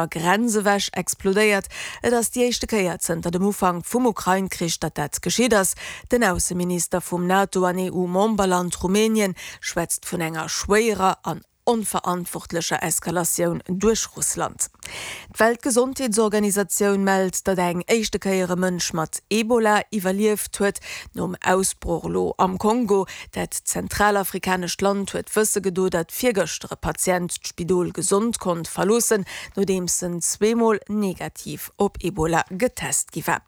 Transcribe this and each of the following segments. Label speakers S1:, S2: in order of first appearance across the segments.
S1: Grenz ewech explodéiert. Et ass déi éischte Kéier zënter dem Ufank vum Ukrain-Krich, datt dat geschitt ass. Den Ausseminister vum NATO an EU-Memberland Rumänien schwätzt vun enger schwéierer an onverantwortlecher Eskalatioun duerch Russland. D'Weltgesondheetsorganisatioun mellt, datt eng éischte Kéier e Mënsch mat Ebola iwwerlieft huet, nom Ausbroch elo am Kongo. Dat zentralafrikanescht Land huet wësse gedo, datt virgëschter e Patient d'Spidol gesond konnt verloossen, nodeems en zweemol negativ op Ebola getest gi war.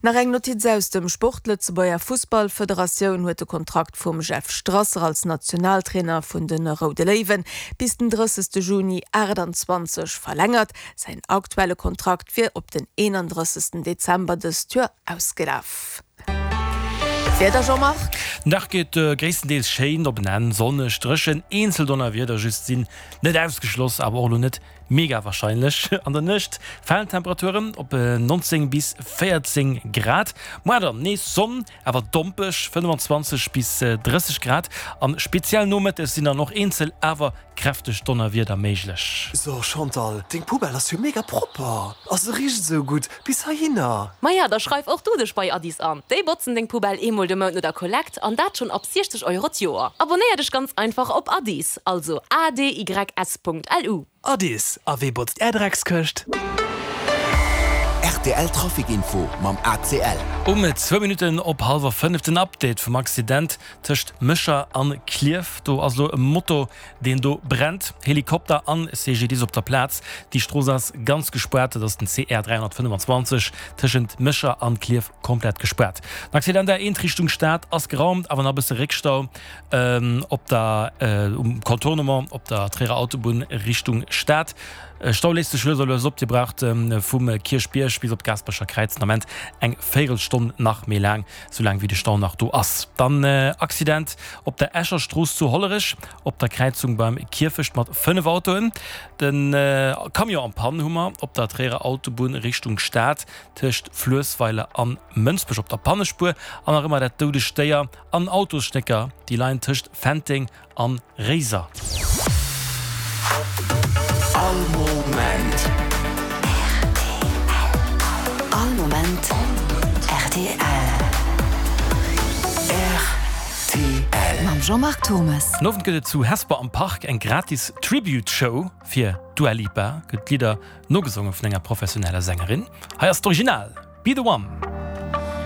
S1: Nach eng Notiz aus dem Sport, D'Lëtzebuerger Fussballfederatioun huet de Kontrakt vum Jeff Strasser als Nationaltrainer vun de Roude Léiwen bis den 30 Juni 28 verlängert. Säin aktuelle Kontrakt wier op den 31 Dezember dëst Joer ausgelaf. Wieder Jean-Marc?
S2: Den Dag geet gréisstendeels schéin op en Enn, sonneg, dréchen, eenzel Donnerwieder just sinn net ausgeschloss, awer och elo net mega warscheinlech. An der Nuecht falen d'Temperaturen op 19 bis 14 Grad. Moar dann nees Sonn, awer dompeg, 25 bis 30 Grad an speziell nomëttes sinn dann och eenzel awer kräfteg Donnerwieder méiglech.
S3: So Chantal, deng Poubelle ass jo mega propper a se richt esou gutt bis heihinner.
S4: Maja, da schreif och du dech bei Addis an. Déi botzen deng Poubelle eemol de Mount no der Kollekt an dat schonn ab 60 Euro d'Joer. Abonnéier dech ganz einfach op Addis, also adys.lu.
S3: Addis, a wee botzt är Dreckskëscht?
S5: Rtl Trafic Info mam ACL.
S2: Um zwou Minutten op hallwer 5 den Update vum Accident tëscht Mécher an Klierf. Do ass elo e Moto deen do brennt. Helikopter an CGDIS op der Plaz. Déi Strooss ass ganz gespaart, dat ass den CR 325 tëschent Mécher an Klierf komplett gespaart. Den Accident A1 Richtung Stad ass geraumt, awer nach e bësse Réckstau op der um Contournement op der Tréierer Autobunn Richtung Stad. Stau léist sech lues a lues op, Dir braucht vum Kierchbierg bis op d'Gaasperecher Kräiz den Ament eng Véierelstonn nach méi laang. Soulaang wéi de Stau nach do ass. Dann Accident op der Escher Strooss zu Hollerech op der Kräizung beim Kierfecht mat 5 Autoen. Den Camion en Panne hu mer op der Tréierer Autobunn Richtung Stad tëscht Fluessweiler an Mënsbech op der Pannespuer. An nach ëmmer dat doudegt Déier an Autosstécker déi leien tëscht Fenteng An Réiser.
S5: All Moment.
S6: Rtl. All Moment rtl.
S5: Rtl.
S6: Mam Jean-Marc Turmes.
S2: Den Owend gëtt et zu Hesper am Park eng gratis Tribute Show fir d'Dua Lipa. Gëtt d'Lidder nogesonge vun enger professioneller Sängerin. Hei ass d'Original, Be The One.